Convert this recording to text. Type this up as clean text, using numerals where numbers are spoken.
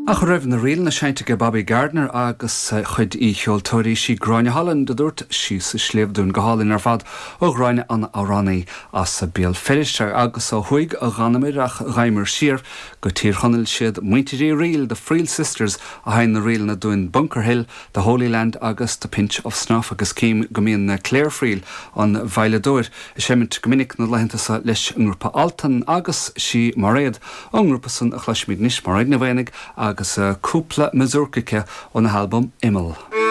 Ach a raibh na ríleanna seinnte ag Bobby Gardiner agus a chuid aoicheoltóirí, sí Gráinne Holland a dúirt Síos an Sliabh dúinn go hálainn ar fad ó Ghráinne an amhránaí as Béal Feirste agus ó thuaidh a dh'fhanamair ach ghabhamar siar go Tír Chonaill siad muintir Uí Fhrighil, The Friel Sisters, a sheinn na ríleanna dúinn Bunker Hill, The Holy Land agus The Pinch of Snuff agus cím go mbíonn Claire Friel, an veidhleadóir, ag seimint go minic na laethanta seo leis an ngrúpa Altan agus sí Mairéad Ón ngrúpa san a chloisfimid anois Mairéad Ní Mhaonaigh agus cúpla mazurka aici óna halbam Imeall.